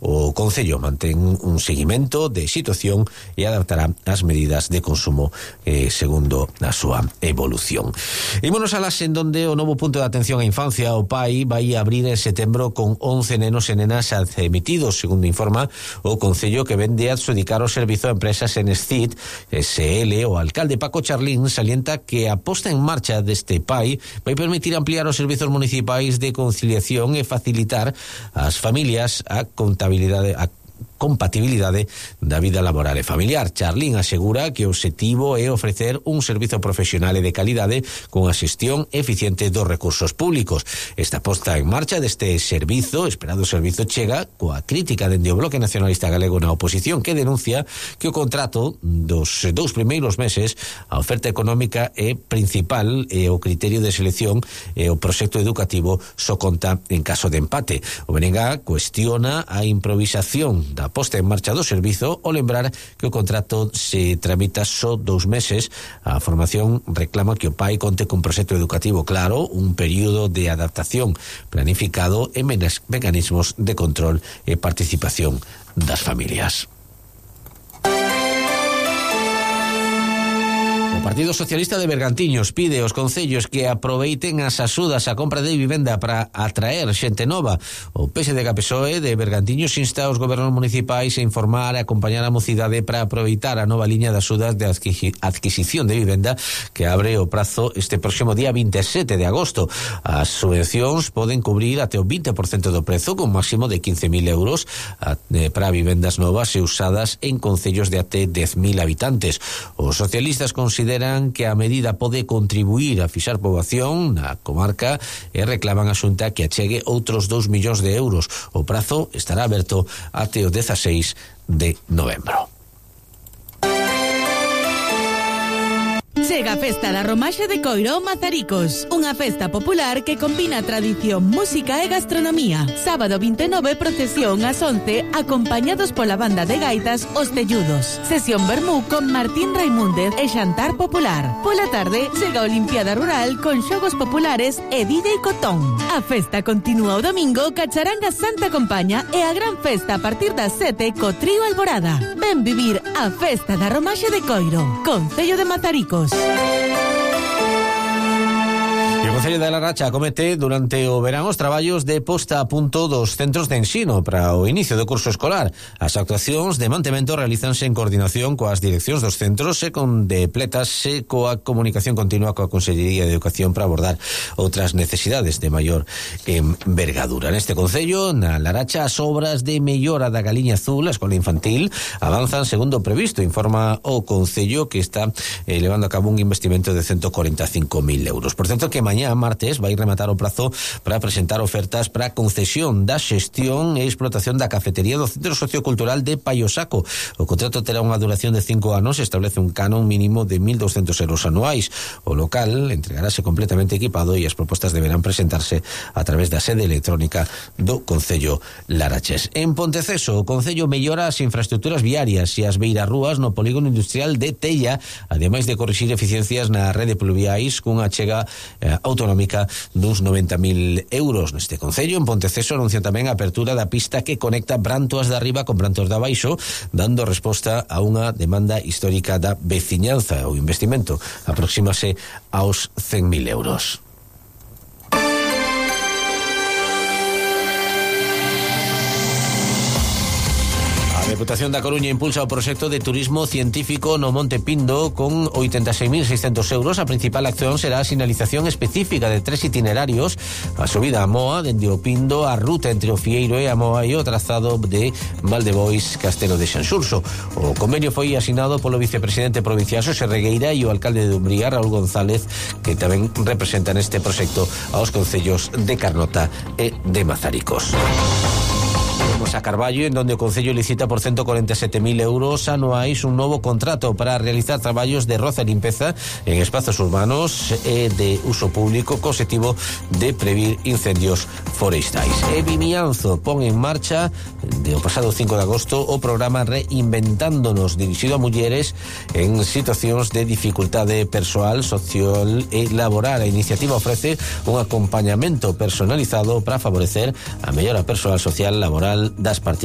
o Concello mantén un seguimento de situación e adaptará as medidas de consumo segundo a súa evolución. Ímonos a las en donde o novo punto de atención á infancia, o PAI, vai abrir en setembro con 11 nenos e nenas admitidos, segundo informa o Concello, que vende a adxudicar o servizo a empresas Enescit SL. O alcalde Paco Charlín salienta que a posta en marcha deste PAI vai permitir ampliar os servizos municipais de conciliación e facilitar ás familias a compatibilidade da vida laboral e familiar. Charlín asegura que o obxectivo é ofrecer un servizo profesional e de calidade con a xestión eficiente dos recursos públicos. Esta posta en marcha deste servizo, esperado servizo, chega coa crítica dende o Bloque Nacionalista Galego na oposición, que denuncia que o contrato dos 2 primeiros meses, a oferta económica é principal e o criterio de selección e o proxecto educativo só conta en caso de empate. O BNG cuestiona a improvisación da posta en marcha do servizo ao lembrar que o contrato se tramita só 2 meses. A formación reclama que o PAI conte cun proxecto educativo claro, un período de adaptación planificado e mecanismos de control e participación das familias. O Partido Socialista de Bergantiños pide aos concellos que aproveiten as axudas á compra de vivenda para atraer xente nova. O PSDG-PSOE de Bergantiños insta aos gobernos municipais a informar e acompañar a mocidade para aproveitar a nova liña de axudas de adquisición de vivenda que abre o prazo este próximo día 27 de agosto. As subvencións poden cubrir até o 20% do prezo, con máximo de 15.000 euros para vivendas novas e usadas en concellos de até 10.000 habitantes. Os socialistas consideran que a medida pode contribuir a fixar poboación na comarca e reclaman a Xunta que achegue outros 2 millóns de euros. O prazo estará aberto até o 16 de novembro. Chega a Festa da Romaxe de Coiro Mazaricos, unha festa popular que combina tradición, música e gastronomía. Sábado 29, procesión ás 11, acompañados pola banda de gaitas Os Telludos. Sesión vermú con Martín Raimúndez e xantar popular. Pola tarde, chega a Olimpiada Rural con xogos populares e DJ Cotón. A festa continúa o domingo ca charanga Santa Compaña e a gran festa a partir das 7 co trío Alborada. Ven vivir a Festa da Romaxe de Coiro, Concello de Mazaricos. E o Concello da Laracha acomete durante o verán os traballos de posta a punto dos centros de ensino para o inicio do curso escolar. As actuacións de mantemento realízanse en coordinación coas direccións dos centros e complétase coa comunicación continua coa Consellería de Educación para abordar outras necesidades de maior envergadura. Neste Concello, na Laracha, as obras de mellora da Galiña Azul, a escola infantil, avanzan segundo o previsto, informa o Concello, que está levando a cabo un investimento de 145.000 euros. Por tanto, que mañá, martes, vai rematar o prazo para presentar ofertas para a concesión da xestión e explotación da cafetería do Centro Sociocultural de Paiosaco. O contrato terá unha duración de 5 anos e establece un canon mínimo de 1.200 euros anuais. O local entregarase completamente equipado e as propostas deberán presentarse a través da sede electrónica do Concello Laraches. En Ponteceso, o Concello mellora as infraestructuras viarias e as beirarrúas no polígono industrial de Tella, ademais de corrixir eficiencias na rede pluviais cunha chega autonómica duns 90.000 euros. Neste Concello, en Ponteceso, anuncian tamén a apertura da pista que conecta Brantoas de Arriba con Brantoas de Abaixo, dando resposta a unha demanda histórica da veciñanza. O investimento aproxímase aos 100.000 euros. A Deputación da Coruña impulsa o proxecto de turismo científico no Monte Pindo con 86.600 euros. A principal acción será a sinalización específica de 3 itinerarios: a subida a Moa, dende o Pindo, a ruta entre o Fieiro e a Moa e o trazado de Valdebois, Castelo de Xanxurso. O convenio foi asinado polo vicepresidente provincial Xosé Regueira e o alcalde de Umbría, Raúl González, que tamén representan este proxecto aos concellos de Carnota e de Mazaricos. A Carballo, en donde o Concello licita por 147.000 euros anuais un novo contrato para realizar traballos de roza e limpeza en espazos urbanos e de uso público, co objetivo de previr incendios forestais. E Vimianzo pon en marcha o pasado 5 de agosto o programa Reinventándonos, dirixido a mulleres en situacións de dificultade persoal, social e laboral. A iniciativa ofrece un acompañamento personalizado para favorecer a mellora persoal, social, laboral das participantes.